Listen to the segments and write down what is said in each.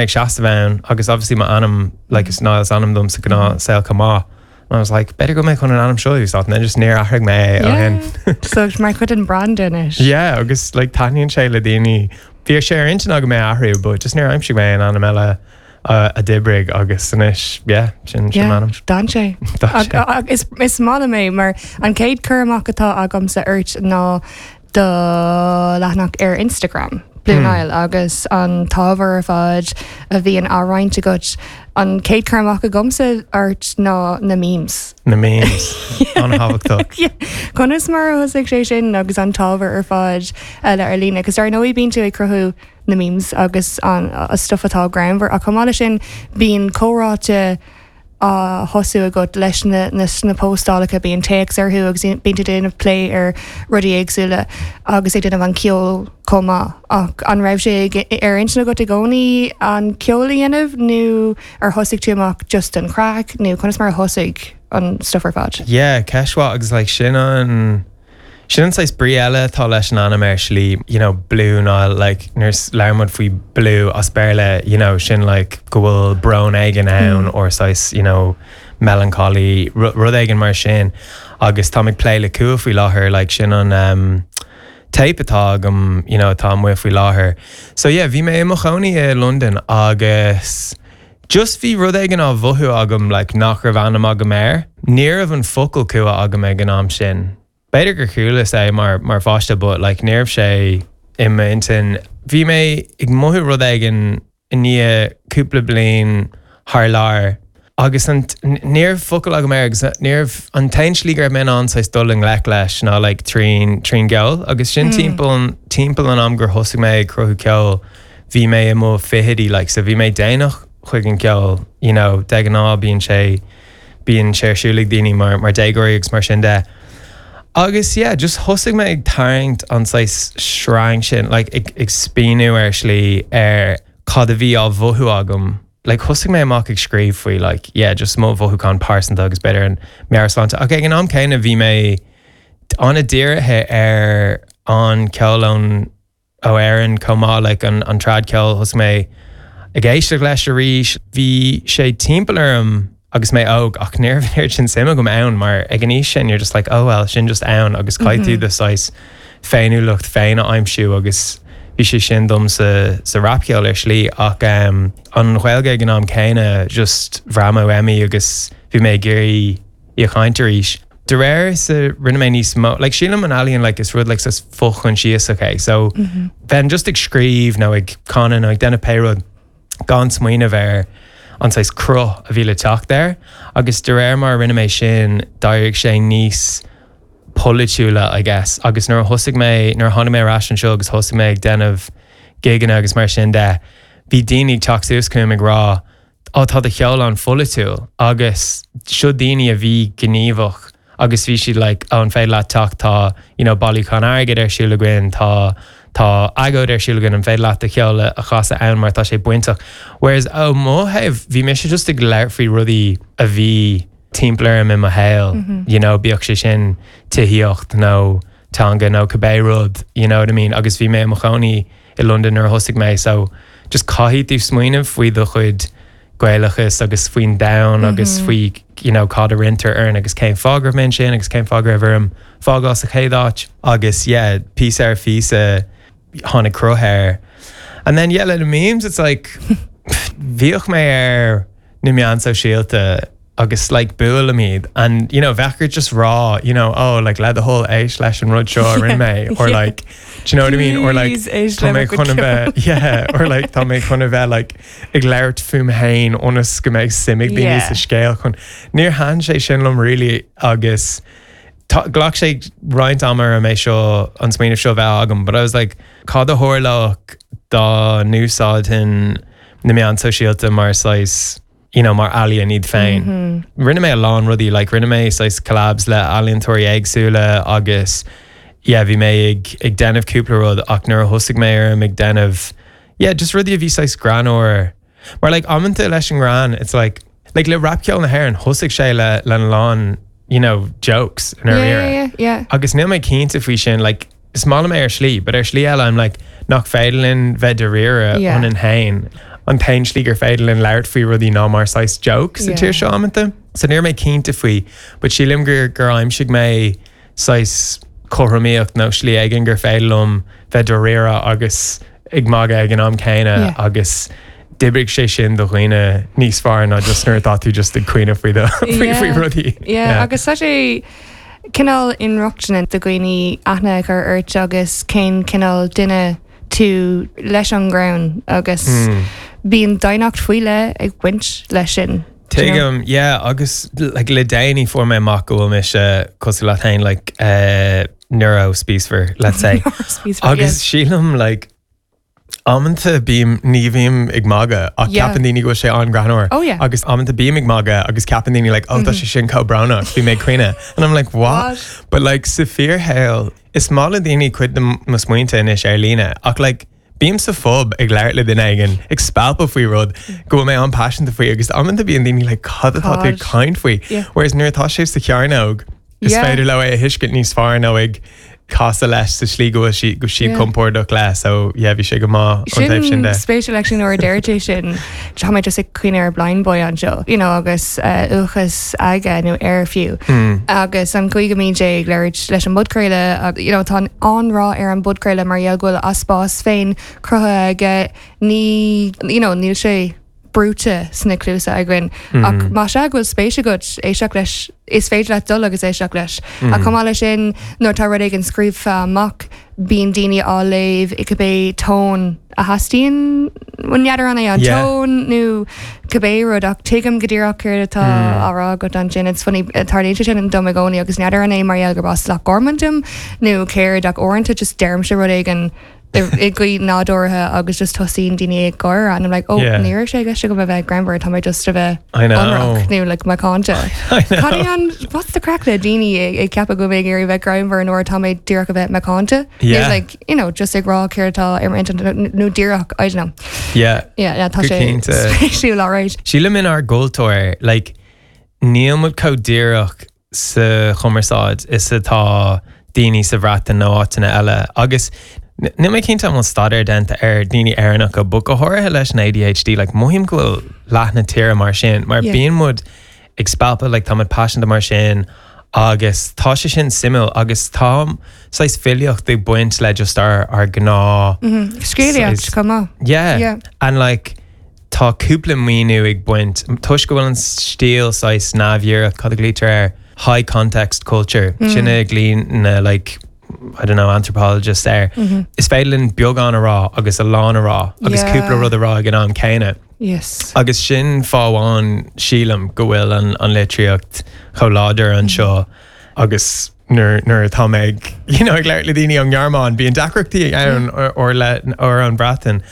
Ag seasamh ann agus obviously m'ainm like is Niall is ainm dom sa ghnáthshaol chomh maith and I was like b'fhéidir go mbeidh chun an ainm seo a úsáid and then just níor athraigh mé é ó shin. So mar chuid den brand anois. Yeah agus like taitníonn sé le daoine. Bhí sé ar intinn agam é a athrú but just níor aimsigh mé aon ainm eile a d'oibrigh agus anois yeah sin sin m'ainm. D'fhan sé. D'fhan sé. Is is maith liom é mar an chéad cur amach atá agamsa ort ná do leathanach ar Instagram, Blue Niall, agus an t-ábhar ar fad a bhíonn á roinnt agat. An chéad cur amach agamsa ort ná na memes. Na memes. An-thábhachtach. Conas mar a thosaigh sé sin agus an t-ábhar ar fad eile ar líne? Cos dar ndóigh bíonn tú ag cruthú na memes agus an stuff atá greannmhar ach chomh maith leis sin bíonn comhráite á thosú agat leis na na póstálacha, bíonn téacs orthu agus bíonn tú ag déanamh plé ar rudaí éagsúla agus ag déanamh an ceol chomh maith. Ach an raibh sé ar intinn agat i gcónaí an ceol a dhéanamh nó ar thosaigh tú amach just don chraic nó conas mar a thosaigh an stuff ar fad? Yeah, ceist mhaith agus like sin an Sin an saghas brí eile atá leis an ainm ar shlí, you know, Blue Niall, like, nuair a labhrann muid faoi blue as Béarla, you know, sin like go bhfuil brón éigin ann or saghas, you know, melancholy, rud éigin mar sin. Agus táim ag plé le cumha faoi láthair, like, sin an um, téip atá agam, you know, atá amuigh faoi láthair. So yeah, bhí mé i mo chónaí i Londain agus just bhí rud éigin á mhothú agam like nach raibh ainm agam air. Ní raibh an focal cumha agam ag an am sin. B'fhéidir gur chualas é mar mar pháiste but like ní raibh sé i m'intinn. Bhí mé ag mothú rud éigin i ndiaidh cúpla bliain thar lear agus an ní raibh focal agam air agus ní raibh an t-aon slí go raibh mé in ann saghas dul i ngleic leis ná like trín trín gceol agus sin timpeall timpeall an am gur thosaigh mé ag cruthú ceoil bhí mé i mo fichidí like so bhí mé déanach chuig an gceol you know de ghnáth bíonn sé bíonn sé ar siúl ag daoine mar mar déagóirí agus mar sin de. Agus yeah just thosaigh mé ag tarraingt an saghas sreang sin like ag ag spíonadh ar shlí ar cad a bhí á mhothú agam like thosaigh mé amach ag scríobh faoi like yeah just mo mhothúchán pearsanta agus b'fhéidir an meabhairshláinte ach ag an am céanna bhí mé an-dírithe ar an ceol ón ó Éirinn chomh maith like an an trad ceol thosaigh mé ag éisteacht leis arís. Bhí sé timpeall orm agus mé óg ach ní raibh an oiread sin suim agam ann mar ag an aois sin you're just like oh well sin just ann agus caithfidh tú do saghas féiniúlacht féin a aimsiú agus bhí sé sin dom sa sa rapcheol ar shlí ach um, an Ghaeilge ag an am céanna just bhraith mé uaim í agus bhí mé ag iarraidh í a chaint arís. De réir is a rinne mé níos mó, like sílim an ealaíon like is rud like saghas fochoinsiasach é so bheinn just ag scríobh nó ag canadh nó ag déanamh pé rud gan smaoineamh ar an saghas cruth a bhí le teacht air agus de réir mar a rinne mé sin d'éirigh sé níos polaitiúla I guess agus nuair a thosaigh mé, nuair a tháinig mé ar ais anseo agus thosaigh mé ag déanamh gigeanna agus mar sin de bhí daoine ag teacht suas chugam ag rá Á, tá do cheol an-pholaitiúil agus seo daoine a bhí gníomhach agus bhí siad like oh an féidir leat teacht tá you know bailiúchán airgid ar siúl againn, tá tá agóid ar siúl againn an féidir leat do cheol a chasadh ann mar tá sé bainteach. Whereas ó mo thaobh bhí mise just ag labhairt faoi rudaí a bhí timpeall orm i mo shaol you know bíodh sé sin tithíocht nó teanga nó cibé rud you know what I mean agus bhí mé i mo chónaí i Londain nuair a thosaigh mé so just caithfidh tú smaoineamh faoi do chuid Gaelachas agus faoin domhan agus faoi you know cad a roinntear orainn agus cén fáth go raibh mé ansin agus cén fáth go raibh orm fágáil sa chéad áit agus yeah píosa ar phíosa tháinig cruth air. And then yeah le na memes it's like bhíodh mé ar na meáin sóisialta agus like buailim iad and you know bheadh ort just rá you know oh like le do thoil éist leis an rud seo a rinne mé or like do you know what I mean or like tá mé chun a bheith yeah or like tá mé chun a bheith like ag labhairt fúm féin ionas go mbeidh suim ag daoine sa scéal chun níor thaitin sé sin liom really agus tá ghlac sé roinnt ama orm é seo an smaoineamh seo a bheith agam but I was like cad a tharlódh dá n-úsáidfinn na meáin sóisialta mar saghas you know, mar ealaíon iad féin. Rinne mé a lán rudaí, like rinne mé saghas collabs le ealaíontóirí éagsúla agus yeah, bhí mé ag, ag déanamh cúpla rud ach nuair a thosaigh mé orm ag déanamh, yeah, just rudaí a bhí saghas greannmhar. Mar like amanta leis an ngreann, it's like, like le rapcheol na hÉireann, thosaigh sé le, lena lán, you know, jokes i ndáiríre. Yeah, yeah, yeah. Agus níl mé cinnte faoi sin, like, is maith liom é ar shlí, but ar shlí eile I'm like, nach féidir linn bheith dáiríre Yeah. ionainn féin. an t-aon slí gur féidir linn labhairt faoi rudaí ná mar saghas joke sa tír seo amanta. So ní raibh mé cinnte faoi, but sílim gur gur aimsigh mé saghas cothromaíocht nó slí éigin gur féidir liom bheith dáiríre agus ag magadh ag an am céanna agus d'oibrigh sé sin do dhaoine níos fearr ná just nuair atá tú just ag caoineadh faoi do faoi faoi rudaí. Yeah, agus tá sé cineál inrochtana do dhaoine aithne a chur ort agus cén cineál duine tú leis an ngreann agus bíonn daonnacht faoi leith ag baint leis sin. Tuigim, yeah, agus like, le déanaí fuair mé amach go bhfuil mise cosúil leat féin, like, uh, neuro-spíosmhar, let's say. Agus sílim, like, amanta bím, ní bhím ag magadh ach yeah. ceapann daoine go bhfuil sé an-ghreannmhar. Oh, yeah. Agus amanta bím ag magadh agus ceapann daoine like, oh, mm -hmm. tá sé sin chomh brónach, bhí mé ag caoineadh. And I'm like, what? what? But like, sa fíorshaol, is maith le daoine cuid de mo smaointe anois ar líne, ach like, Bím sa phub ag labhairt le duine éigin, ag spalpadh faoi rud go bhfuil mé an-paiseanta faoi agus amanta bíonn daoine like cad atá tú ag caint faoi? Whereas nuair atá sé sa chearnóg, is féidir leo é a thuiscint níos fearr nó ag casadh leis sa slí go bhfuil sí go siad compordach leis so yeah bhí sé go maith ón taobh sin de. Sin spéisiúil actually nuair a deir tú sin tá mé just ag cuimhneamh ar Blindboy anseo you know agus uathachas aige nó air fiú agus an chaoi go mbíonn sé ag labhairt leis an bpodchraoladh agus you know tá an-rath ar an bpodchraoladh mar gheall go bhfuil a spás féin cruthaithe aige ní you know níl sé brúite sna cluasa againn ach más ea go bhfuil spéis agat éisteacht leis is féidir leat dul agus éisteacht leis. Ach chomh maith leis sin nuair atá rud éigin scríofa amach bíonn daoine á léamh i cibé tón a theastaíonn, n'fheadar an é an tón nó cibé rud ach tuigim go díreach céard atá á rá agat ansin. It's funny, tarlaíonn sé sin dom i gcónaí agus n'fheadar an é mar gheall gurb as Loch Garman dom nó céard ach uaireanta just deirimse rud éigin i gcaoi nádúrtha agus just tosaíonn daoine ag gáire and I'm like, oh, ní raibh sé i gceist agam a bheith greannmhar, tá mé just a bheith ionraic nó like macánta. Cad é an, what's the craic le daoine ag ceapadh go bhfuil mé ag iarraidh bheith greannmhar nuair atá mé díreach a bheith macánta? Yeah. Like, you know, just ag rá céard atá ar m'intinn nó díreach, I don't know. Yeah. Yeah, yeah, tá sé spéisiúil, alright. Sílim inár gcultúr, like, níl muid chomh díreach sa chumarsáid is atá daoine sa Bhreatain nó áiteanna eile. Agus níl mé cinnte an bhfuil staidéar déanta ar daoine Éireannacha, but go háirithe leis an ADHD, like, mothaím go bhfuil leath na tíre mar sin, mar bíonn muid ag spalpadh, like, tá muid paiseanta mar sin agus tá sé sin suimiúil agus tá saghas filíocht ag baint le just ár, ár ngnáth Scéalaíocht chomh maith. Yeah. Yeah. And like, Tá cúpla míniú ag baint, toisc go bhfuil an stíl saghas neamhdhíreach, cad a ghlaoitear air, high context culture, sin a ghlaonn na like, I don't know, anthropologists air. Is féidir linn beagán a rá agus a lán a rá agus cúpla rud a rá ag an am céanna. Yes. Agus sin fáth amháin, sílim, go bhfuil an, an litríocht chomh láidir anseo agus nuair, nuair atá mé ag, you know, ag labhairt le daoine ón nGearmáin, bíonn deacrachtaí ann or, le, or ón Bhreatain.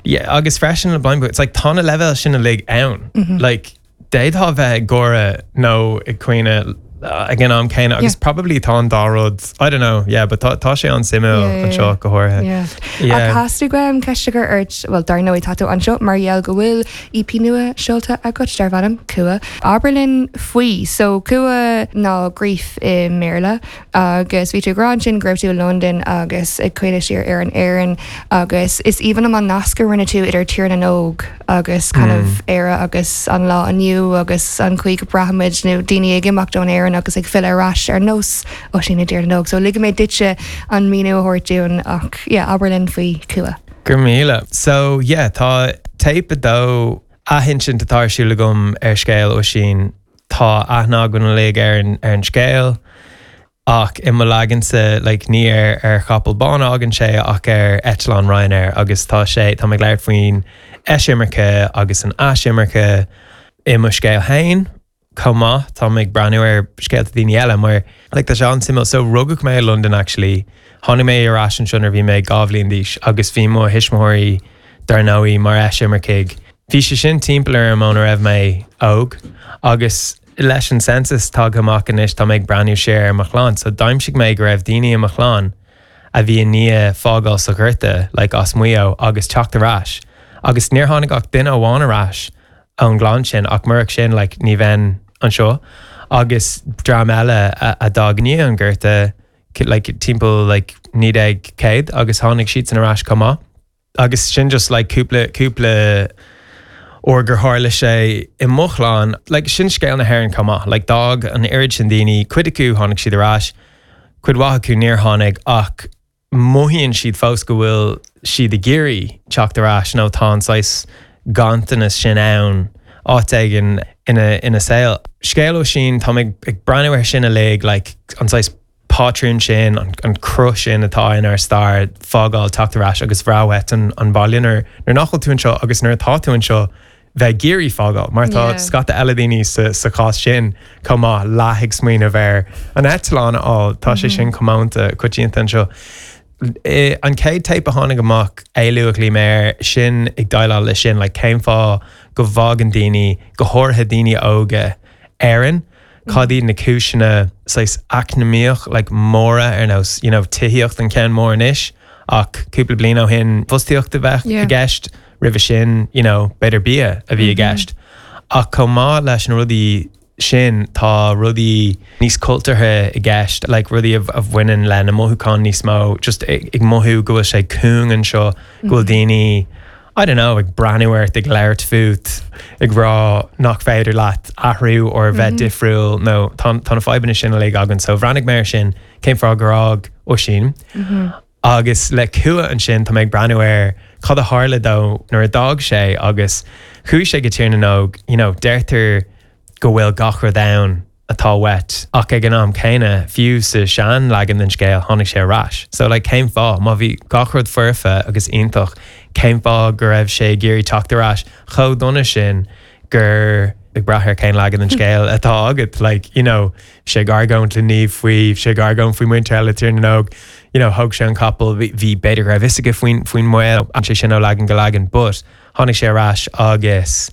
Yeah, agus freisin le Blindboy, it's like tá na leibhéil sin uilig ann. Like, d'fhéadfá bheith ag gáire nó ag caoineadh ag an am céanna agus probably tá an dá rud, I don't know, yeah, but tá, tá sé an-suimiúil Yeah, yeah, anseo go háirithe. Yeah. Yeah. Ach theastaigh uaim ceist a chur ort, well, dar ndóigh tá tú anseo mar gheall go bhfuil EP nua seolta agat darb ainm Cumha. Abair linn faoi. So Cumha ná grief i mBéarla agus bhí tú ag rá ansin go raibh tú i Londain agus ag cuimhneamh siar ar an Éirinn agus is aoibhinn liom an nasc a rinne tú idir Tír na nÓg agus kind of Éire agus an lá inniu agus an chaoi go braithimid nó daoine ag imeacht ón Éirinn agus ag filleadh ar ais ar nós Oisín i dTír na nÓg. So ligfidh mé duitse an míniú a thabhairt dúinn ach yeah abair linn faoi Cumha. Go raibh míle. So yeah, tá téip 2 athinsint atá ar siúl agam ar scéal Oisín. Tá aithne againn uilig ar an, ar an scéal ach i mo leagansa like ní ar, ar chapall bán a fhágann sé ach ar eitleán Ryanair agus tá sé, tá mé ag labhairt faoin eisimirce agus an aisimirce i mo scéal féin. Chomh maith, tá mé ag breathnú ar scéalta daoine eile mar like tá sé an-suimiúil. So rugadh mé i Londain actually, tháinig mé ar ais anseo nuair a bhí mé 2 bhliain d'aois agus bhí mo thuismitheoirí dar ndóigh mar eisimircigh. Bhí sé sin timpeall orm óna raibh mé óg agus leis an census tagtha amach anois tá mé ag breathnú siar ar mo chlann so d'aimsigh mé go raibh daoine i mo chlann a bhí i ndiaidh fágáil sa Ghorta like as Maigh Eo agus teacht ar ais agus níor tháinig ach duine amháin ar ais ón gclann sin ach murach sin like ní bheinn anseo agus dream eile a d'fhág i ndiaidh an Ghorta like timpeall like 1900 agus tháinig siadsan ar ais chomh maith agus sin just like cúpla cúpla. or gur tharla sé i mo chlann, like sin scéal na hÉireann chomh maith, like d'fhág an oiread sin daoine, cuid acu tháinig siad ar ais, cuid mhaith acu níor tháinig ach mothaíonn siad fós go bhfuil siad ag iarraidh teacht ar ais nó tá an saghas ganntanas sin ann áit éigin ina ina saol. Scéal Oisín, tá mé ag breathnú air sin uilig, like an saghas pátrún sin, an cruth sin atá inár stair, fágáil, teacht ar ais agus bhreith uait an an baile nuair nuair nach bhfuil tú anseo agus nuair atá tú anseo bheith ag iarraidh fágáil mar tá scata eile daoine sa sa chás sin chomh maith, leath ag smaoineamh ar an eitleán a fháil, tá sé sin comónta, coitianta anseo. An chéad téip a tháinig amach, Éalú a ghlaoigh mé air, sin ag déileáil leis sin, like cén fáth go bhfágann daoine, go háirithe daoine óga, Éirinn? Cad iad na cúiseanna saghas eacnamaíoch like móra ar nós you know tithíocht an ceann mór anois ach cúpla bliain ó shin fostaíocht a bheadh i gceist, roimhe sin you know b'fhéidir bia a bhí i gceist. Ach chomh maith leis na rudaí sin tá rudaí níos cultúrtha i gceist like rudaí a bhaineann le na mothúcháin níos mó just ag mothú go bhfuil sé cúng anseo, go bhfuil daoine I don't know, ag breathnú ort, ag labhairt fút, ag rá nach féidir leat athrú or bheith difriúil nó tá tá na fadhbanna sin uilig againn. So bhreathnaigh mé air sin, cén fáth gur fhág Oisín. Agus le cumha ansin tá mé ag breathnú ar cad a tharla dó nuair a d'fhág sé agus chuaigh sé go Tír na nÓg, you know, deirtear go bhfuil gach rud ann atá uait ach ag an am céanna, fiú sa sean-leagan den scéal, tháinig sé ar ais. So like cén fáth? Má bhí gach rud foirfe agus iontach, cén fáth go raibh sé ag iarraidh teacht ar ais chomh dona sin gur, ag brath ar cén leagan den scéal atá agat, like you know, bhí sé ag argóint le Niamh faoi, bhí sé ag argóint faoi muintir eile Tír na nÓg, you know, thóg sé an capall, bhí, bhí, b'fhéidir go raibh fhios aige faoin, faoin mbaol, bhain sé sin ó leagan go leagan but tháinig sé ar ais agus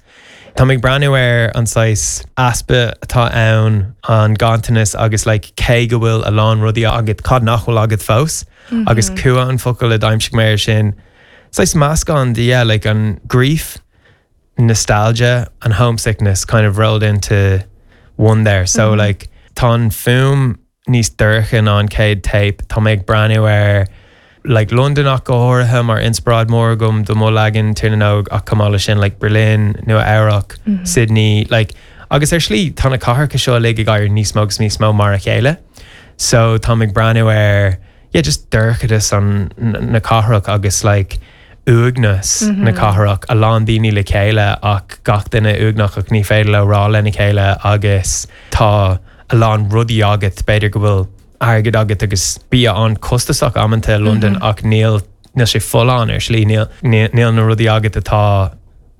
Tá mé ag breathnú ar an saghas easpa atá ann, an ganntanas agus like cé go bhfuil a lán rudaí agat, cad nach bhfuil agat fós? Agus cumha an focal a d'aimsigh mé air sin. Saghas meascán de yeah, like an grief, nostalgia and homesickness kind of rolled into one there. So like tá an fuaim níos dorcha ná an chéad téip. Tá mé ag breathnú ar like Londain ach go háirithe mar inspioráid mór agam do mo leagan Tír na nÓg ach chomh maith leis sin like Berlin, Nua Eabhrac, Sydney like agus ar shlí tá na cathracha seo uilig ag éirí níos mó agus níos mó mar a chéile. So táim ag breathnú ar yeah just dorchadas an na cathrach agus like uaigneas na cathrach, a lán daoine le chéile ach gach duine uaigneach ach ní féidir leo rá lena chéile agus tá a lán rudaí agat, b'fhéidir go bhfuil airgead agat agus bia an-chostasach amanta i Londain ach níl, níl sé folláin ar shlí, níl, níl na rudaí agat atá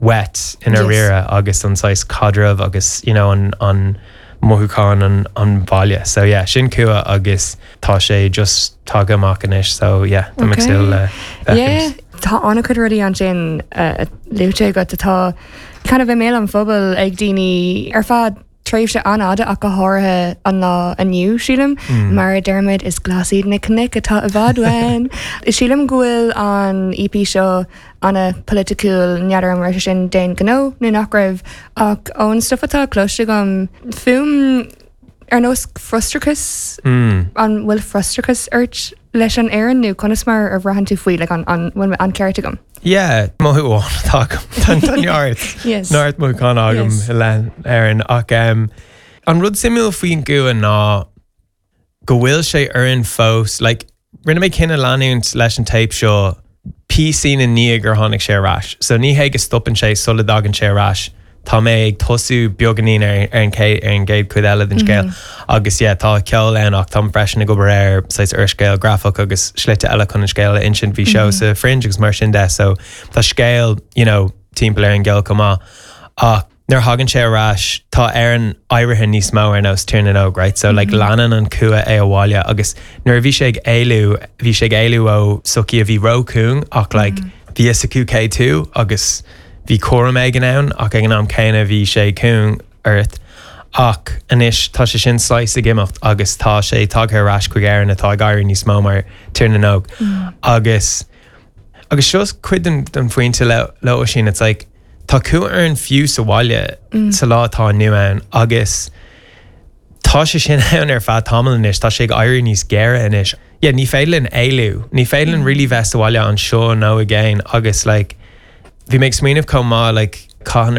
uait i ndáiríre agus an saghas caidreamh agus you know an, an mothúchán an, an bhaile. So yeah, sin cumha agus tá sé just tagtha amach anois so yeah, tá mé ag súil le féachaint. Yeah, tá an-chuid rudaí ansin luaite agat atá kind of i mbéal an phobail ag daoine ar feadh tréimhse an-fhada ach go háirithe an lá inniu, sílim. Mar a deirimid, is glas iad na cnoic atá i bhfad uainn. Sílim go bhfuil an EP seo an-pholaiticiúil, n'fheadar an raibh sé sin d'aon ghnó nó nach raibh, ach ón stuif atá cloiste agam, fuaim ar nós frustrachas, an bhfuil frustrachas ort leis an Éirinn nó conas mar a bhraitheann tú faoi, like an bhfuil an ceart agam? Yeah, mothú amháin atá agam. Tá neart, Yes. neart mothúchán agam Yes. i leith Éireann ach um, an rud suimiúil faoin gcumha ná go bhfuil sé orainn fós, like, rinne mé cinneadh leanúint leis an téip seo píosín i ndiaidh gur tháinig sé ar ais. So ní hé go stopann sé sula dtagann sé ar ais, Tá mé ag tosú beagáinín ar an gcéad chuid eile den scéal agus yeah tá ceol ann ach táim freisin ag obair ar saghas úrscéal grafach agus slite eile chun an scéal a insint. Bhí seó sa Fringe agus mar sin de so tá scéal you know timpeall ar an gceol chomh maith ach nuair a thagann sé ar ais tá Éirinn éirithe níos mó ar nós Tír na nÓg right so like leanann an cumha é abhaile agus nuair a bhí sé ag éalú bhí sé ag éalú ó sochaí a bhí róchúng ach like bhí fhios acu cé tú agus Bhí cúram éigin ann ach ag an am céanna bhí sé cúng ort. Ach anois tá sé sin saghas ag imeacht agus tá sé tagtha ar ais chuig Éirinn atá ag éirí níos mó mar Tír na nÓg. Agus agus seo cuid den den phointe le le Oisín, it's like tá cumha orainn fiú sa bhaile sa lá atá inniu ann agus tá sé sin ann ar feadh tamaill anois, tá sé ag éirí níos géire anois. Yeah, ní féidir linn éalú, ní féidir linn really bheith sa bhaile anseo nó i gcéin agus like, Bhí mé ag smaoineamh chomh maith like cathain a.